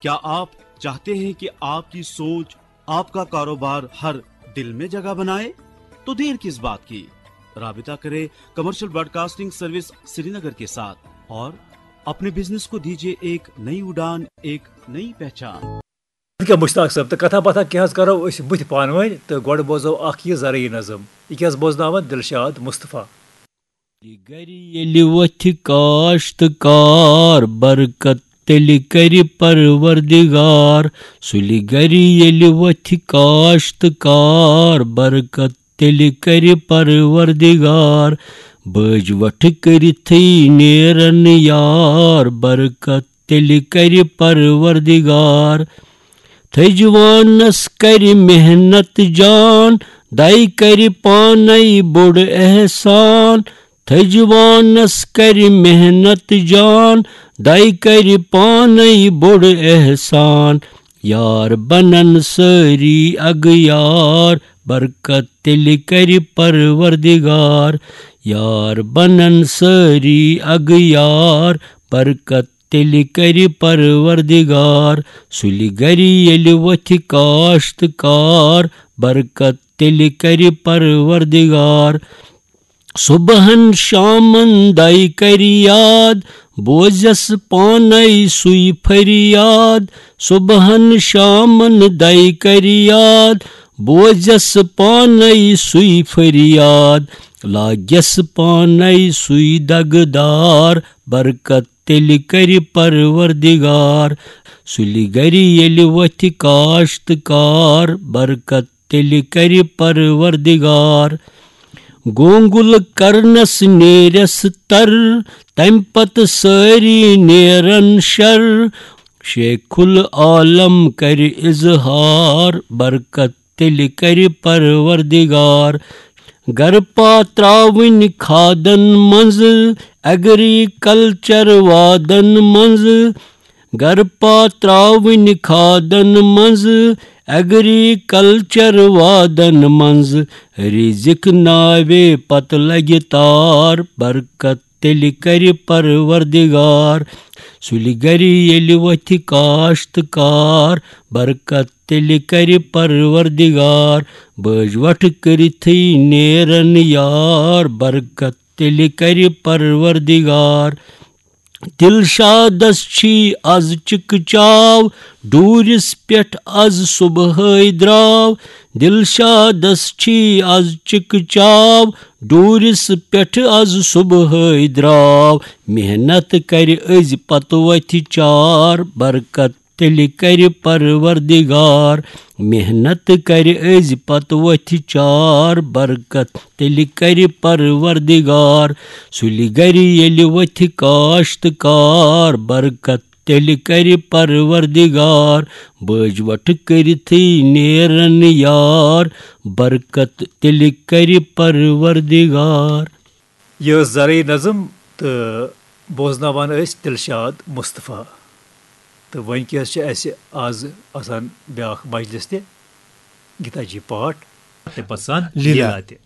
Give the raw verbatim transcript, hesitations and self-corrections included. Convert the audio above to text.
क्या आप चाहते हैं कि आपकी सोच, आपका कारोबार हर दिल में जगह बनाए? तो देर किस बात की? राबिता करें कमर्शियल ब्रॉडकास्टिंग सर्विस श्रीनगर के साथ और अपने बिजनेस को दीजिए एक नई उड़ान, एक नई पहचान। کیٛاہ مشتاق صٲب، تہٕ کتھا باتھا کینٛہہ حظ کرو أسۍ بٕتھِ پانہٕ ؤنۍ، تہٕ گۄڈٕ بوزو اکھ یہِ زرعی نظم۔ یہِ کیٛاہ حظ بوزناوان دلشاد مصطفیٰ۔ گرِ ییٚلہِ وۄتھِ کاشت کار برکت، تیٚلہِ کرِ پروردگار۔ سُلہِ گرِ ییٚلہِ وۄتھِ کاشت کار برکت، تیٚلہِ کرِ پروردگار۔ بٲج وٹھ کٔرِتھٕے نیرن یار برکت، تیٚلہِ کرِ پروردگار۔ تھٔجوانس کرِ محنت جان، دَے کرِ پانے بوٚڑ احسان۔ تھٔجوانس کرِ محنت جان، دَے کرِ پانے بوٚڑ احسان۔ یار بنن سٲری اگیار، برکت تیٚلہِ کرِ پروردگار۔ یار بنن سٲری اگیار، برکت تیٚلہِ کرِ پروردگار۔ سُلہِ گرِ ییٚلہِ وۄتھِ کاشت کار، برکت تیٚلہِ کرِ پروردگار۔ صبحن شامن دَے کرِ یاد، بوزس پانے سُے فریاد۔ صبحن شامن دَے کرِ یاد، بوزس پانے سُے فریاد۔ لاگس پانے سُے دگہٕ دار، برکت تیٚلہِ کرِ پروردگار۔ سُلہِ گرِ ییٚلہِ وۄتھِ کاشت کار، برکت تیٚلہِ کرِ پروردگار۔ گونگل کرنس نیرس تر، تمہِ پتہٕ سٲری نیرن شر۔ شیخ العالم کرِ اظہار، برکت تیٚلہِ کرِ پروردگار۔ گرپا تراوٕنۍ کھادن منٛز، ایگریکلچر وادن منٛز۔ گرپا تراوٕنۍ کھادن منٛز، ایگریکلچر وادن منٛز۔ رزق ناوے پتہٕ لگہِ تار، برکت تیٚلہِ کرِ پروردگار۔ سُلہِ گرِ ییٚلہِ وۄتھِ کاشت کار، برکت تیٚلہِ کرِ پروردگار۔ بٲج وٹھ کٔرِتھٕے نیرن یار، برکت تیٚلہِ کرِ پروردگار۔ دلشادس چھی از چکہ چاو، ڈوٗرِس پٮ۪ٹھ از صبحٲے درٛاو۔ دلشادس چھی از چکہ چاو، ڈوٗرِس پٮ۪ٹھ از صبحٲے درٛاو۔ محنت کرِ أزۍ پتہٕ وتھِ چار، برکت تیٚلہِ کرِ پروردگار۔ محنت کرِ أزۍ پتہٕ وتھِ چار، برکت تیٚلہِ کرِ پروردگار۔ سُلہِ گرِ ییٚلہِ وتھِ کاشت کار، برکت تیٚلہِ کرِ پروردگار۔ بٲج وٹھ کٔرِتھٕے نیرن یار، برکت تیٚلہِ کرِ پروردگار۔ یہِ ٲس زرعی نظم تہٕ بوزناوان ٲسۍ دلشاد مصطفیٰ۔ تہٕ وۄنۍ کیٛاہ حظ چھِ اَسہِ آز آسان بیٛاکھ مجلس تہِ، گیتا جی پاٹھ۔ تہٕ پسند لیلا۔ لیلا تہِ۔